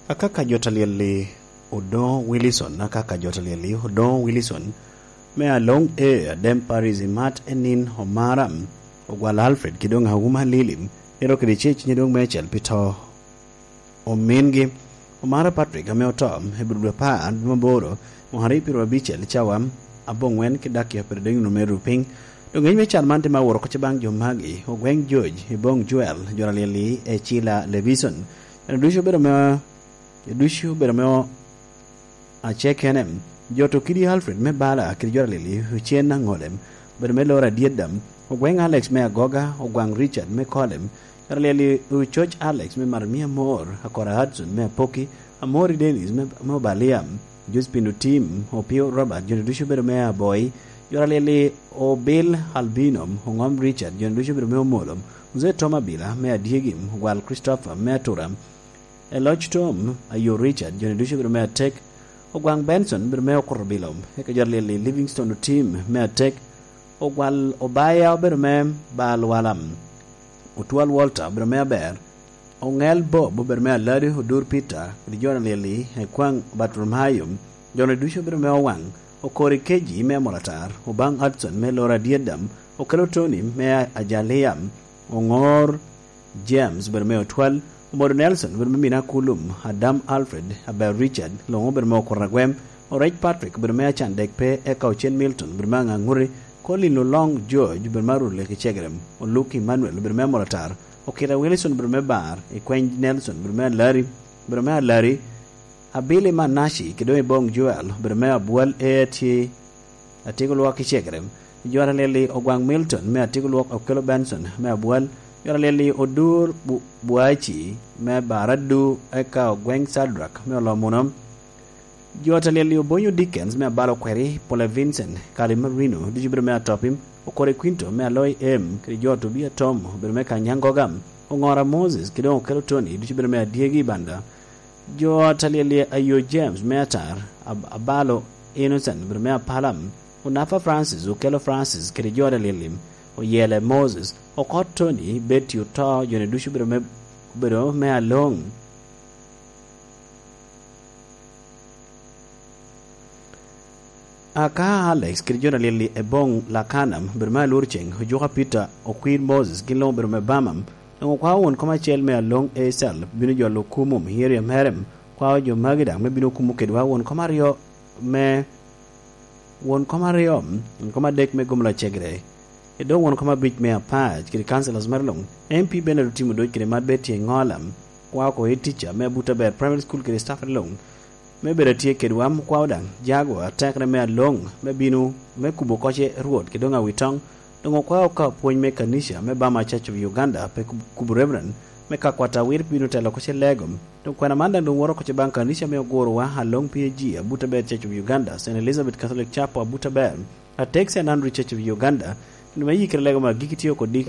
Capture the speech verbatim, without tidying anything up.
Akaka jo talyel-li Odoŋo Wilison, akaka jo talyel-li Odoŋo Wilison, me Aloŋ E, Adem Paris, Imat Enin, Omara, Ogwal Alfred, ki doŋ Auma Lili, ero kede ce cunye doŋ meicel pi to omingi, Omara Patrick, ame oto i bur dwe apar, dwe maboro, mwaka aryo pyeraryo abicel, cawa aboŋwen ki dakika pyeraryo adek nino me ru piny. Doŋ ngec me cal man tye ma woro oko baŋ jo magi, Ogweŋ George, Iboŋ Joel, jo talyel-li Ecila Levison. Eno ducu obedo me Ducu obedo me o-, acekene. Jo to kidi Alfred me Bala kede jo alili, Ocen Aŋolem, obedo me Lora Dyeddam, Ogweŋ Alex me Agoga, Ogwaŋ Richard me Kolem, jo alili, Ococ Alex me Marmia Mor, Akora Hudson me Apoki, Amori Dennis me, me Obalia, Josephine Otim, Opio Robert, jo ducu obedo me Aboi, jo alili, Obil Albino, Oŋom Richard, jo ducu obedo me Omolom, Mzee Tom Abila me Adyegi, Ogwal Christopher me Atura, Eloc Tom, Ayo Richard, joni ducu obedo me atek. Ogwaŋ Benson obedo me Okurubilo, eka jo alyel-li Livingstone Otim me atek. Ogwal Obaya obedo me Balwala. Otwal Walter obedo me aber. Oŋel Bob obedo me aladi, Odur Peter, kede jo alyel-li Ekwaŋ Bartolomayo, joni ducu obedo me Owaŋ. Okori Keji me Amolatar, Obaŋ Hudson me Lora Dyeddam, Okelo Tony me Ajalia, Oŋor James obedo me Otwal, Omodo Nelson obedo me Mina Kulum, Adam Alfred, Aber Richard, Loŋo obedo me Okura Gwem, Orec Patrick obedo me Acan Dek Pe, eka Ocen Milton obedo me Aŋaŋuti, Colin Oloŋ George obedo me Arule ki Cegerem, Oluk Emmanuel obedo me Amolatar, Okita Wilson obedo me Bar, Ikweny Nelson obedo me Alari, obedo me Alari, Abili Manaci, kede doŋ Iboŋ Joel, obedo me Abwal A T, Atyeko Lwok i Cekerem. Jo alyel-li Ogwaŋ Milton me Atyeko Lwok, Okelo Benson me Abwal. Jo alyel-li Odur Bu-, Buaci me Baradu, eka Ogweŋ Sadrak me Olomuno. Jo alyel-li Obonyo Dickens me Abalo Kweri, Pole Vincent, Kali Marino, ducu obedo me Atopim, Okore Quinto me Aloi Em, kede jo Tobia Tom, obedo me Kanyangoga, Oŋora Moses, kede doŋ Okelo Tony, ducu obedo me Adyegi Banda. Jo alyel-li Ayo James me Atar, Ab-, Abalo Innocent obedo me Apalam, Onafa Francis, Okelo Francis, kede jo alyel-li Oyele Moses, Okot Tony, Betty Oto, joni ducu obedo me, obedo me Aloŋ. Aka Alex kede jo alyel-li Eboŋ Lakana obedo me Alur Ceŋ, Ojuka Peter, Okwir Moses, gin luŋ obedo me Bama. Doŋ okwao won kom acel me Aloŋ Esal bino jolo kumo Miriam Herem, kwao jo magi daŋ me bino kumo kedwa won kom aryo me, won kom aryo, won kom adek me Gomla Cegre. Edo won kom abic me Apac kede councillors mere luŋ, M P Bernard Otim Odoc kede Mad Betty Eŋola, kwao oko head teacher me Abuta Ber Primary School kede staff luŋ, me bedo atye kedwa, okwao daŋ jago atekere me Aloŋ me bino me kubo koce Rwot kede doŋ Awitoŋ. Doŋ okwao ka pwony me kanica me Bama Church of Uganda pe kub-, kubo Reverend me ka kwat awir bino telo koce Lego. Doŋ kwena man daŋ doŋ woro koce baŋ kanica me ogurowa Aloŋ P A G, Abuta Ber Church of Uganda, Saint Elizabeth Catholic Chapel, Abuta Ber, Atek Saint Andrew Church of Uganda, kendo me yikere Lego me agikki tye oko dikni.